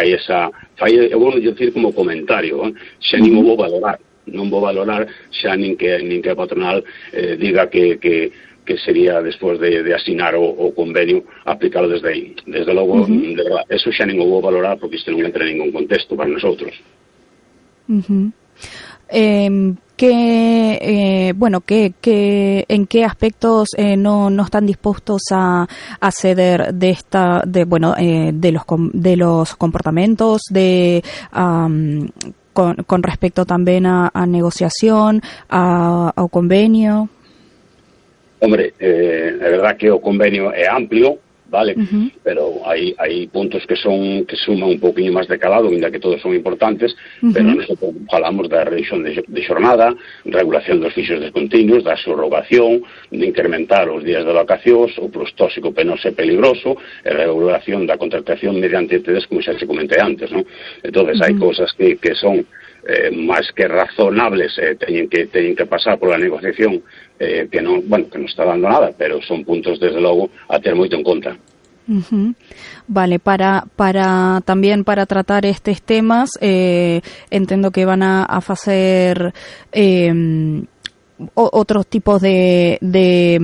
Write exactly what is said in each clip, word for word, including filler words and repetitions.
fai esa, fai, eu vou dicir como comentario, eh? xa nin o vou valorar, non vou valorar xa nin que, nin que a patronal eh, diga que, que, que sería despois de, de asinar o, o convenio aplicado desde aí. Desde logo, uh-huh. de verdad, eso xa nin o vou valorar porque isto non entra en ningún contexto para nosotros. Uh-huh. Eh, que eh, bueno que, que en qué aspectos eh, no no están dispuestos a, a ceder de esta de bueno eh, de los de los comportamientos de um, con, con respecto también a, a negociación a, a convenio. Hombre, eh, é verdad que o convenio é amplio, vale, uh-huh. pero hai, hai puntos que son que suman un pouquinho máis de calado, ainda que todos son importantes, uh-huh. pero nosotros falamos da reducción de, de xornada, regulación dos fixos descontinuos, da subrogación, de incrementar os días de vacacións, o plus tóxico, penoso e peligroso, e regulación da contratación mediante T Ds, como xa se comenté antes, ¿no? Entonces, uh-huh. hai cousas que, que son eh, máis que razonables, eh, teñen que teñen que pasar pola negociación, eh, que non, bueno, que non está dando nada, pero son puntos desde logo a ter moito en conta. Uh-huh. Vale, para para también para tratar estos temas, eh, entiendo que van a, a hacer eh, otros tipos de de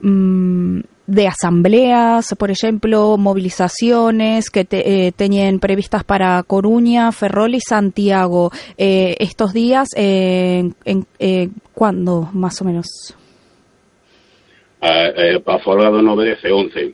um, de asambleas, por ejemplo, movilizaciones que te, eh, tenían previstas para Coruña, Ferrol y Santiago. Eh, estos días, eh, en, eh, ¿cuándo más o menos? Uh, eh, para folga do nove, dez e once.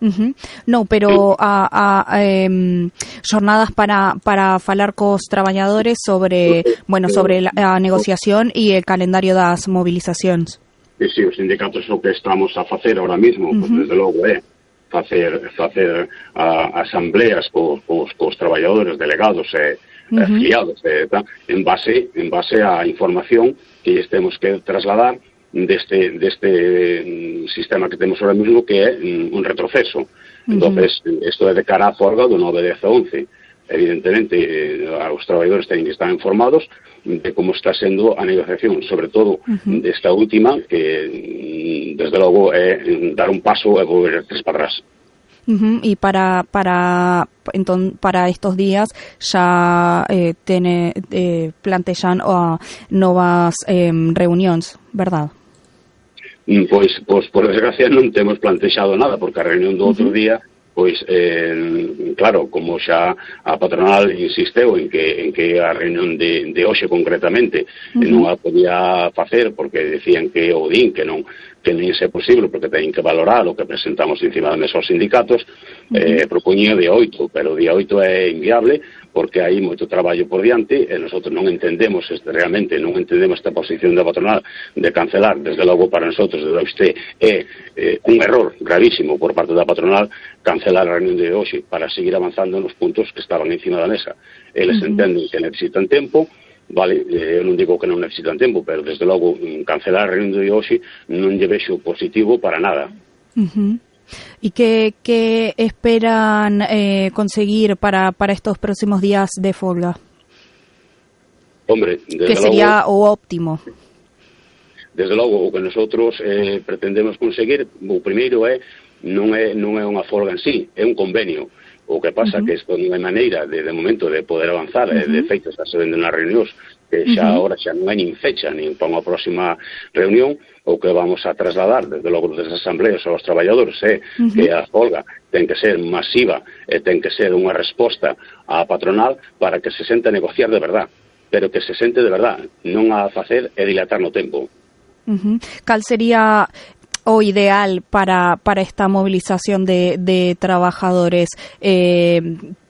Uh-huh. No, pero a, a, a eh, jornadas para para falar cos traballadores sobre, bueno, sobre la, a negociación y el calendario das movilizacións. E si, os sindicatos o que estamos a facer ahora mismo, uh-huh. pues, desde logo é facer facer a, asambleas cos, cos, cos traballadores delegados e uh-huh. afiliados e, ta, en base en base á información que temos que trasladar deste deste sistema que temos ahora mismo, que é un retroceso. Uh-huh. Entonces, isto é de cara a folga do nove, dez e once. Evidentemente, eh, os traballadores teñen que estar informados de como está sendo a negociación, sobre todo uh-huh. desta última, que desde logo é dar un paso e volver tres para atrás. Uh-huh. Y para para enton, para estos días ya eh, tiene eh, plantean uh, novas eh, reunións, verdad? Pois, pois, por desgracia non temos plantexado nada, porque a reunión do outro uh-huh. día, pois, eh, claro, como xa a patronal insisteu en que en que a reunión de, de hoxe concretamente uh-huh. non a podía facer porque decían que o din que non que non é posible porque teñen que valorar o que presentamos encima da mesa aos sindicatos, uh-huh. eh, propoñía día oito, pero o día oito é inviable porque hai moito traballo por diante e nosotros non entendemos, este, realmente non entendemos esta posición da patronal de cancelar. Desde logo para nosotros, desde este é eh, un error gravísimo por parte da patronal cancelar a reunión de hoxe para seguir avanzando nos puntos que estaban encima da mesa. Eles uh-huh. entenden que necesitan tempo, vale, eu non digo que non necesitan tempo, pero desde logo cancelar a reunión de hoxe non lle vexo positivo para nada. Uh-huh. ¿Y qué, qué esperan eh, conseguir para, para estos próximos días de folga? Hombre, desde ¿qué sería logo, o óptimo? Desde logo, o que nosotros eh, pretendemos conseguir, o primeiro é non é non é unha folga en sí, é un convenio. O que pasa uh-huh. que isto non hai maneira de, de momento de poder avanzar, uh-huh. de feito está se vendo nas reunións que xa uh-huh. ahora xa non hai nin fecha nin para unha próxima reunión. O que vamos a trasladar desde logo desde as asambleas aos traballadores é uh-huh. que a folga ten que ser masiva e ten que ser unha resposta á patronal para que se sente a negociar de verdad, pero que se sente de verdad, non a facer e dilatar no tempo. Uh-huh. Cal sería o ideal para para esta movilización de, de trabajadores? Eh,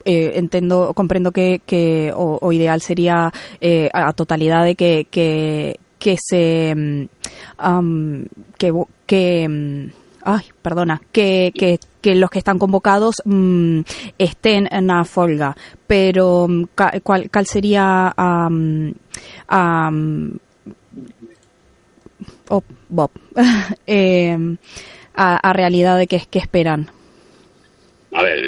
eh, entiendo, comprendo que, que o, o ideal sería eh, a totalidad de que, que que se um, que que ay, perdona, que que que los que están convocados um, estén en la folga, pero cuál cuál sería um, um, oh, Bob, eh, a, a realidade que que esperan? A ver,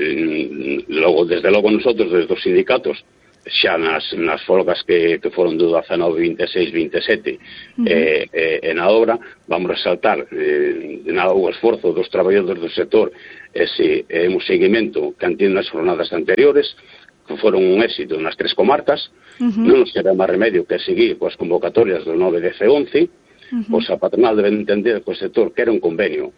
logo, desde logo nosotros, desde os sindicatos, xa nas, nas folgas que, que foron do dezanove, vinte e seis, vinte e sete uh-huh. eh, eh, e na obra vamos resaltar eh, na, o esforzo dos traballadores do sector, ese eh, un seguimento que han tido nas jornadas anteriores, que foron un éxito nas tres comarcas. Uh-huh. Non nos queda máis remedio que seguir coas convocatorias do nove, dez e once. Uh-huh. Pois a patronal debe entender que o sector quere un convenio.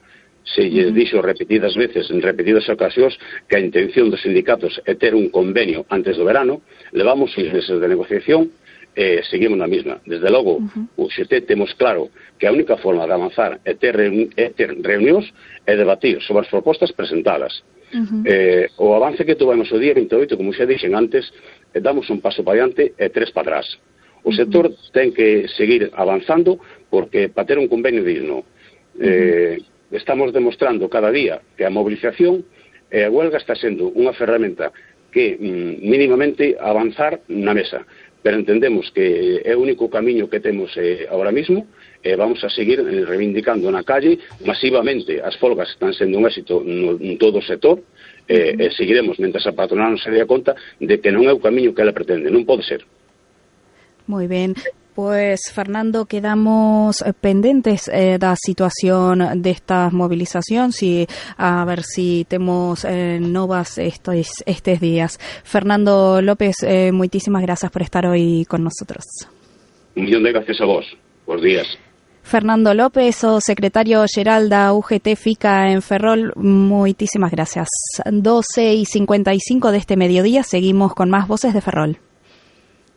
Se lle dixo repetidas veces, en repetidas ocasións, que a intención dos sindicatos é ter un convenio antes do verano. Levamos seis meses de negociación e eh, seguimos na mesma. Desde logo, uh-huh. o X T temos claro que a única forma de avanzar é ter, reuni é ter reunións e debatir sobre as propostas presentadas. Uh-huh. eh, o avance que tuvemos o día vinte e oito, como xa dixen antes, eh, damos un paso para diante e tres para atrás. O sector uh-huh. ten que seguir avanzando porque para ter un convenio digno. Eh, uh-huh. Estamos demostrando cada día que a movilización e a huelga está sendo unha ferramenta que mm, mínimamente avanzar na mesa, pero entendemos que é o único camiño que temos eh, ahora mismo e eh, vamos a seguir eh, reivindicando na calle masivamente. As folgas están sendo un éxito no, en todo o sector e eh, eh, seguiremos mentres a patronal non se dé conta de que non é o camiño que ela pretende, non pode ser. Moi ben. Pues, Fernando, quedamos pendentes eh, da situación desta movilización, si, a ver si temos eh, novas estos, estes días. Fernando López, eh, moitísimas gracias por estar hoy con nosotros. Un millón de gracias a vos. Bos días. Fernando López, o secretario xeral da U G T FICA en Ferrol, moitísimas gracias. doce y cincuenta y cinco de este mediodía, seguimos con más Voces de Ferrol.